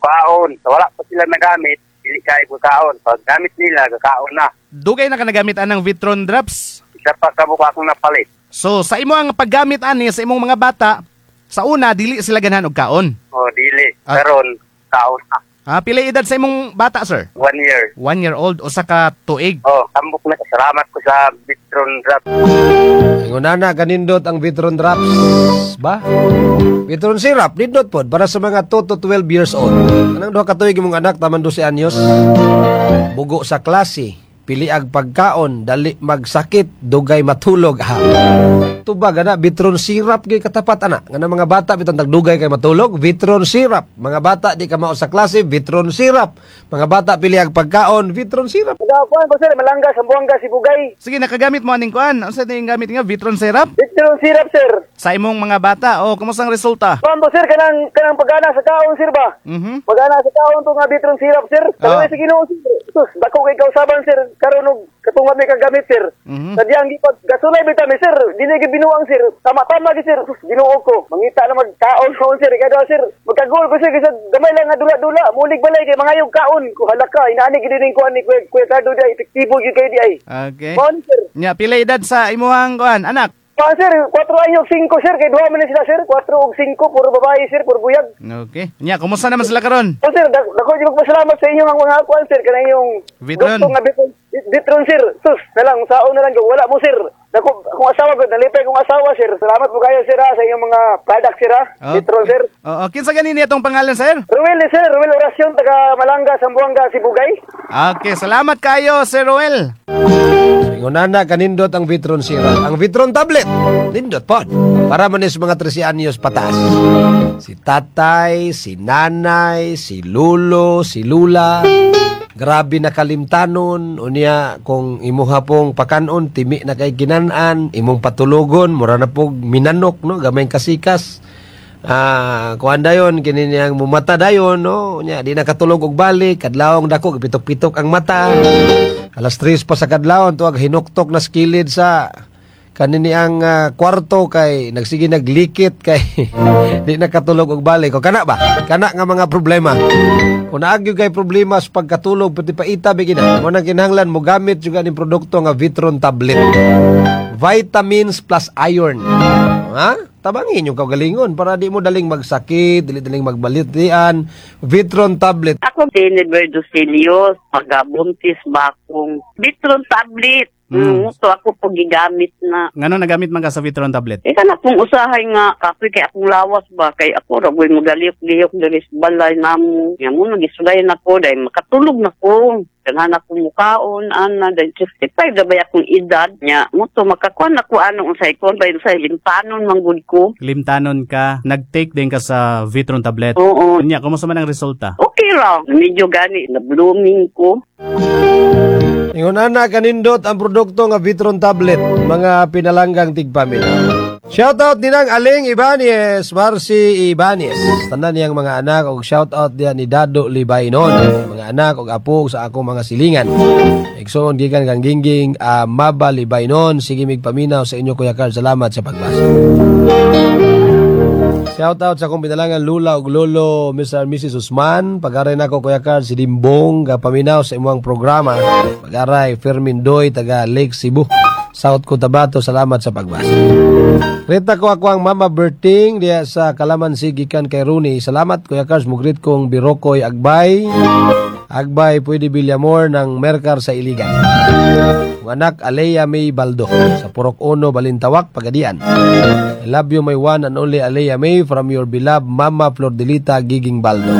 Kaon. Wala pa sila nagamit, dili kay kaon. Pag gamit nila, kakaon na. Dugay na ka nagamit anang Vitron Drops? Isa pa ka buka akong napalit. So sa imo ang paggamit ani sa imong mga bata, sa una dili sila ganahan og kaon. O, dili. Ah. Karon, kaon na. Ah, pila edad sa imong bata, sir? 1 year. 1 year old, usa ka tuig. Oh, tambok na. Salamat ko sa Bitron Drop. Ingon na kanindot ang Vitron Drops ba? Vitron syrup nindot pod para sa mga 2 to 12 years old. Kanang 2 ka tuig imong anak taman 12 anyos. Bugo sa klase, pili ag pagkaon, dali magsakit, dugay matulog ha. Tubag ana Vitron syrup gyud katapat ana. Nga mga bata bitong tagdugay kay matulog, Vitron syrup. Mga bata di ka mao sa klase, Vitron syrup. Mga bata pili ag pagkaon, Vitron syrup. Nagakuan ko, sir, Malanga, Sambuanga, Sibugay. Sige, nakagamit mo aning kuan. Unsa ning gamit nga Vitron syrup? Vitron syrup, sir. Sa imong mga bata, o kumusta ang resulta? Kuan po, sir, kanang kanang pagana sa kaon, sir ba? Pagana sa kaon to nga Vitron syrup, sir. Kalaway sa Ginoo, sir. Sus, dako kay kausaban, sir. Karon og katungod may kagamit, sir. Sadyang gipag gasulay bitaw mi, sir. Dili gyud binuang, sir. Tama-tama gyud, sir. Sus, Ginoo ko. Mangita na magkaon kaon, sir. Kada, sir, magkagol ko, sir, kasi gamay lang nga dula-dula. Mulig balay kay mangayog kaon. Ko halaka ka, inaani gyud ning kuan ni Kuya Cardo di ay epektibo gyud kay di ay. Okay. Kuan, sir. Nya, pila edad sa imuhang kuan, anak? Pa, sir, 4 anyos 5, sir, kay duha man ni sila, sir, 4 ug 5, puro babae, sir, puro buyag. Okay. Nya, kumusta naman sila karon? O sir, dako jud magpasalamat sa inyo ang mga kuan, sir, kanang yung Vitron. gusto nga Vitron, Vitron, sir. Sus, na lang saon na lang wala mo, sir. Dako akong asawa gud, nalipay akong asawa, sir. Salamat po kayo, sir, ha, sa inyong mga product, sir, ha. Oh. Vitron, sir. Oo, kinsa gani niya tong pangalan, sir? Ruel ni sir, Ruel Oracion taga Malanga, Sambuanga, Sibugay. Okay, salamat kayo, Sir Ruel. Ingon na kanindot ang Vitron syrup. Ang Vitron tablet, nindot pod. Para man is mga 13 anyos pataas. Si tatay, si nanay, si lulo, si lula. Grabe na kalimtanon. Unya, kung imuha pong pakanon, timi na kay ginan-an, imong patulogon, mura na pong minanok, no? Gamay kasikas. Ah, kuan dayon kini niyang mumata dayon, no? Nya di nakatulog og balik, kadlawong dako gipitok-pitok ang mata. Alas 3 pa sa kadlawon tuag hinuktok na skilid sa kanini ang kwarto kay nagsige naglikit kay di nakatulog og balik. O kana ba? Kana nga mga problema. Kung naagyo kay problema sa pagkatulog pati paita bigina. Mo nang kinahanglan mo gamit juga ning produkto nga Vitron tablet. Vitamins plus iron. Ha? Tabangin yung kaugalingon para di mo daling magsakit, dili daling magbalitian. Vitron tablet. Ako si Edward Lucilio, pagabuntis ba akong Vitron tablet. So ako po gigamit na. Ngano nagamit man ka sa Vitron tablet? Eh kana kung usahay nga kapoy kay akong lawas ba kay ako ra boy magaliyok-liyok diri sa balay namo. Nya mo nagisulayan ako dahil makatulog na ko. Daghan ako mukaon ana dahil 65 na ba akong edad nya mo to makakuan ako ano unsay kon ba unsay limpanon man gud ko. Limtanon ka, nag-take din ka sa Vitron tablet. Oo. Nya, kumusta man ang resulta? Okay ra. Medyo gani na blooming ko. Ingon na kanindot ang produkto nga Vitron tablet, mga pinalanggang tigpamilya. Shoutout ninang Aling Ibanez, Marcy Ibanez. Tanan niyang mga anak og shoutout diyan ni Dado Libaynon. Mga anak og apo sa akong mga silingan. Igsoon gikan kang Gingging Maba Libaynon. Sige mig paminaw sa inyo, Kuya Carl. Salamat sa pagbasa. Shoutout sa akong pinalangan Lula ug Lolo, Mr. and Mrs. Usman. Pag-aray nako, Kuya Carl, si Dimbong gapaminaw sa imong programa. Pag-aray Fermin Doy taga Lake Cebu, South Cotabato. Salamat sa pagbasa. Rita ko ako ang Mama Berting diya sa Kalamansi gikan kay Rooney. Salamat, Kuya Carl, mugrit kong Birokoy Agbay. Agbay pwede Villamor ng Mercar sa Iligan. Ang anak Alea May Baldo sa Purok Uno, Balintawak, Pagadian. I love you, my one and only Alea May, from your beloved Mama Flordelita Giging Baldo.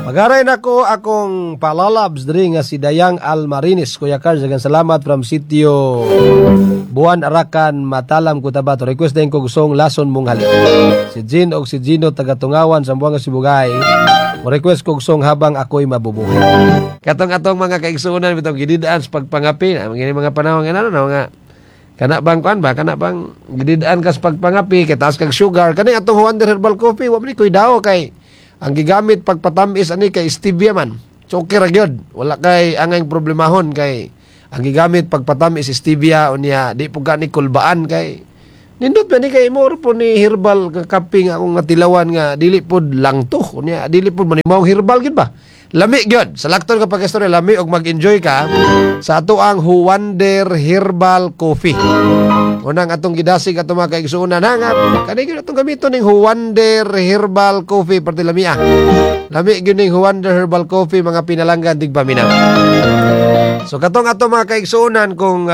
Pagaray nako akong palalabs diri nga si Dayang Almarinis. Kuya Carl, daghang salamat from Sitio Buwan Arakan, Matalam, Cotabato. Request din ko gustong Lason Mong Halik. Si Jean og si Gino taga Tungawan, Sambuanga, Sibugay. Mo request ko gustong Habang Ako'y Mabubuhay. Katong atong mga kaigsuonan bitong gididaan sa pagpangapi, na mga mga panahon nga ano na mga kana bang kuan ba, kana bang gididaan ka sa pagpangapi kay taas kag sugar, kani atong Wonder Herbal Coffee wa man ni koy daw kay ang gigamit pagpatamis ani kay stevia man. So okay ra gyud. Wala kay angay problemahon kay ang gigamit pagpatamis stevia, unya di po gani kulbaan kay nindot ba ni kay mo po ni herbal nga kape nga akong nga tilawan nga dili pod lang to. Unya dili pud man maong herbal gid ba. Lami gyud. Sa lakton ka pag-istorya, lami og mag-enjoy ka sa ato ang Huwander Herbal Coffee. Unang atong gidasig ato mga kaigsuonan ha nga kani gyud atong gamiton ning Huwander Herbal Coffee parte lami ah. Lami gyud ning Huwander Herbal Coffee, mga pinalanggan tigpaminaw. So katong ato mga kaigsuonan, kung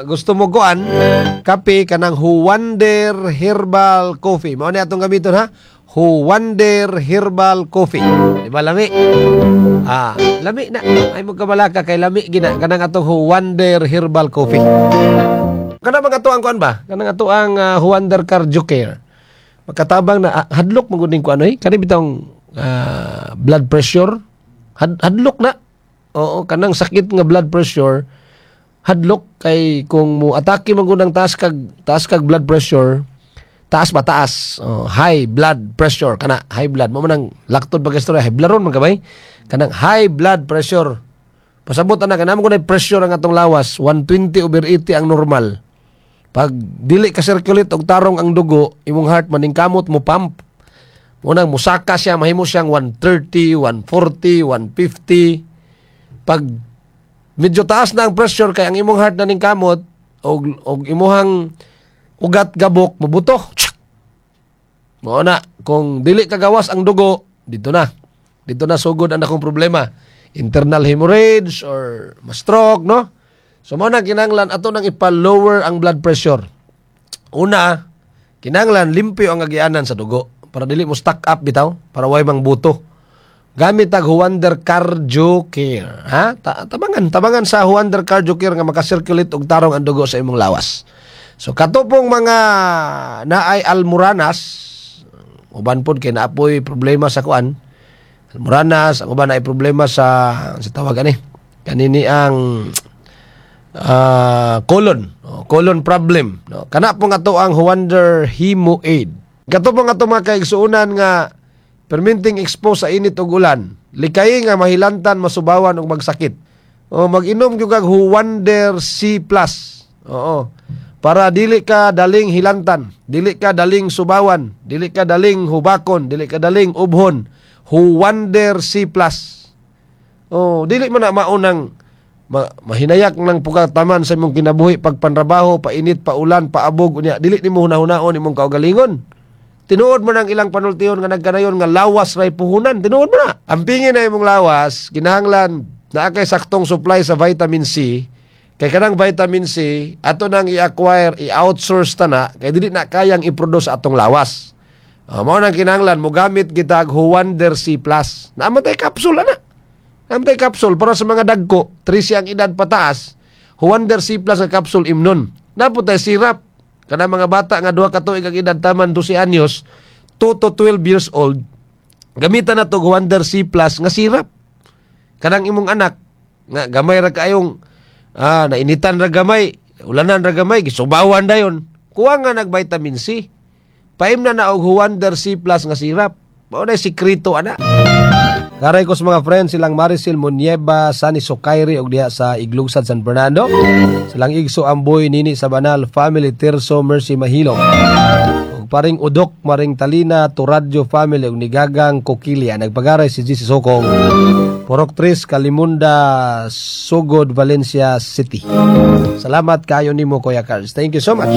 gusto mo kuan kape, kanang Huwander Herbal Coffee. Mao ni atong gamiton ha. Huwander Herbal Coffee. Di ba lami? Ah, lami na. Ay mo kabalaka kay lami gina kanang atong Huwander Herbal Coffee. Kana mga ato ang kuan ba? Kanang ato ang Huwander Cardio Care. Makatabang na hadlok man gud ning kuan oy. Kani bitong blood pressure. Hadlok na. Oo, kanang sakit nga blood pressure hadlok kay kung mo atake man gud ang taas kag blood pressure, taas ba taas, oh, high blood pressure kana, high blood mo man ang laktod pag istorya, high blood ron man kabay kanang high blood pressure. Pasabot ana kana mo pressure ang atong lawas, 120 over 80 ang normal. Pag dili ka circulate og tarong ang dugo, imong heart maningkamot mo pump. Unang musaka siya, mahimo siyang 130, 140, 150. Pag medyo taas na ang pressure kay ang imong heart na ningkamot og imuhang ugat gabok mabuto. Mao na, kung dili kagawas ang dugo, dito na. Dito na sugod ang akong problema. Internal hemorrhage or ma-stroke, no? So mao na kinahanglan ato nang ipa-lower ang blood pressure. Una, kinahanglan limpyo ang agianan sa dugo para dili mo stack up bitaw, para way mang buto. Gamit tag Huwander Cardio Care, ha? Tabangan, tabangan sa Huwander Cardio Care nga makasirculate og tarong ang dugo sa imong lawas. So katupong mga naay almuranas, uban pod kay naapoy problema sa kuan. Almuranas, ang uban naay problema sa tawag ani. Kanini ang colon, oh, colon problem, no? Kana pong ato ang Huwander Hemo Aid. Kato pong ato mga kaigsuonan nga perminting expose sa init ug ulan, likay nga mahilantan, masubawan ug magsakit. O mag-inom gyud kag Huwander C+. Oo. Para dili ka daling hilantan, dili ka daling subawan, dili ka daling hubakon, dili ka daling ubhon. Huwander C+. Oh, dili man na maunang mahinayak ng pugataman sa imong kinabuhi pagpanrabaho, painit, paulan, paabog, unya dili nimo hunahunaon imong kaugalingon. Tinuod mo nang ilang panultihon nga nagkanayon nga lawas ray puhunan, tinuod mo na. Ampingin na imong lawas, kinahanglan naa kay saktong supply sa vitamin C. Kay kanang vitamin C ato nang i-acquire, i-outsource ta na kay dili na kayang i-produce atong lawas. Mao nang kinahanglan mogamit kita og Huwander C+. Naa man tay capsule ana. Naa man tay capsule para sa mga dagko, 13 ang edad pataas. Huwander C+ nga capsule imnon. Naa pod tay syrup kana mga bata nga 2 ka tuig ang edad taman 12 anyos, 2 to 12 years old. Gamitan na to Huwander C+ nga syrup. Kanang imong anak nga gamay ra kaayong nainitan ra gamay, ulanan ra gamay, gisubawan dayon. Kuha nga nag vitamin C. Paimna na og Huwander C+ nga syrup. Mao na sikreto ana. Karay ko sa mga friends silang Maricel Munieva, Sani Sokairi og diha sa Iglugsad, San Fernando. Silang Igso Amboy Nini sa Banal Family Tirso Mercy Mahilong. Og paring Udok Maring Talina Turadyo Family og Nigagang Kokilia. Nagpagaray si GC Sokong. Purok Tris Kalimunda Sugod, Valencia City. Salamat kayo nimo, Kuya Carls. Thank you so much.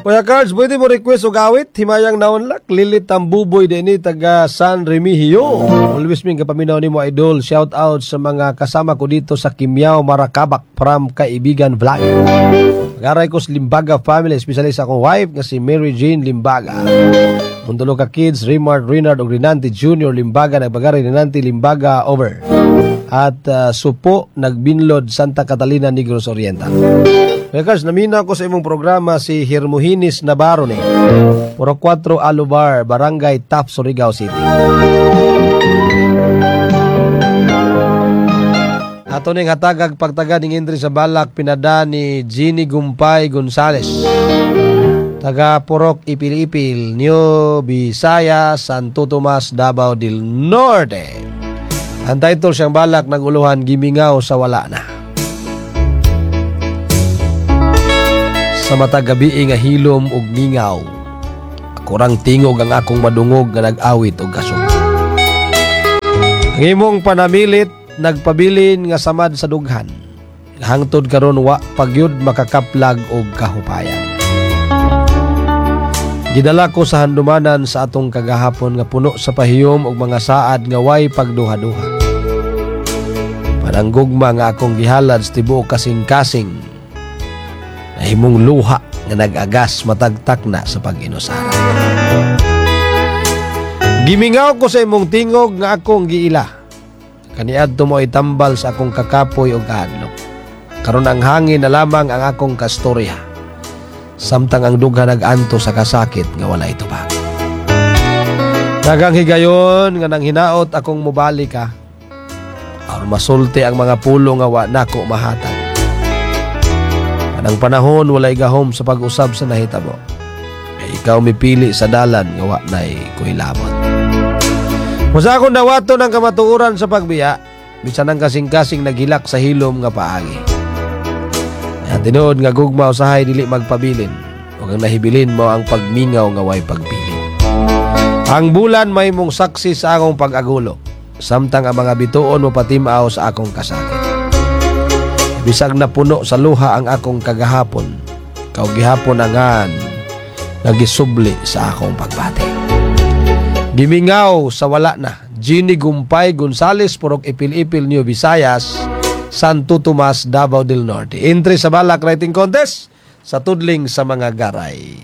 Kuya Carls, pwede mo request og awit Himayang Naunlak, Lilit Tambuboy dinhi taga San Remigio. Always ming kapaminaw nimo, idol. Shout out sa mga kasama ko dito sa Kimiao, Marakabak from Kaibigan Vlog. Garay ko sa Limbaga family, especially sa akong wife nga si Mary Jane Limbaga. Mundulo ka kids, Rimard, Renard ug Rinanti Junior Limbaga, nagbagari Rinanti Limbaga, over. At Supo, Nagbinlod, Santa Catalina, Negros Oriental. Kuya naminaw ko sa imong programa, si Hermohinis Navarro ni. Puro 4 Alubar, Barangay Tap, Surigao City. Ato ning hatagag pagtaga ning Indri sa Balak pinada ni Jeannie Gumpay Gonzales. Taga Purok Ipil-Ipil, New Bisaya, Santo Tomas, Davao del Norte. Ang title siyang balak naguluhan, Gimingaw sa Wala Na. Sa matag gabi nga hilom ug mingaw, akurang tingog ang akong madungog nga nag-awit og kasog. Ang imong panamilit nagpabilin nga samad sa dughan. Hangtod karon wa pagyud makakaplag og kahupayan. Gidala ko sa handumanan sa atong kagahapon nga puno sa pahiyom og mga saad nga way pagduha-duha. Panang gugma nga akong gihalad sa tibuok kasing-kasing, nahimong luha nga nag-agas matag takna sa pag-inusara. Gimingaw ko sa imong tingog nga akong giila. Kaniadto mo itambal sa akong kakapoy og kahadlok. Karon ang hangin na lamang ang akong kastorya. Samtang ang dughan nag-anto sa kasakit nga walay tubag. Daghang higayon nga nang hinaot akong mobalik ka. Aron masulti ang mga pulo nga wa nako mahatag. Anang panahon walay gahom sa pag-usab sa nahitabo. Kay ikaw mipili sa dalan nga wa nay kuilabot. Musa akong dawaton ang kamatuoran sa pagbiya, bisan ang kasing-kasing naghilak sa hilom nga paagi. Ang tinuod nga gugma usahay dili magpabilin, ug ang nahibilin mo ang pagmingaw nga way pagpili. Ang bulan may mong saksi sa akong pag-agulo, samtang ang mga bituon mo patimaw sa akong kasakit. Bisag napuno sa luha ang akong kagahapon, kau gihapon angan nagisubli sa akong pagbati. Gimingaw sa wala na, Ginny Gumpay Gonzales, Purok Ipil-Ipil, New Visayas, Santo Tomas, Davao del Norte. Entry sa Balak Writing Contest sa Tudling sa mga Garay.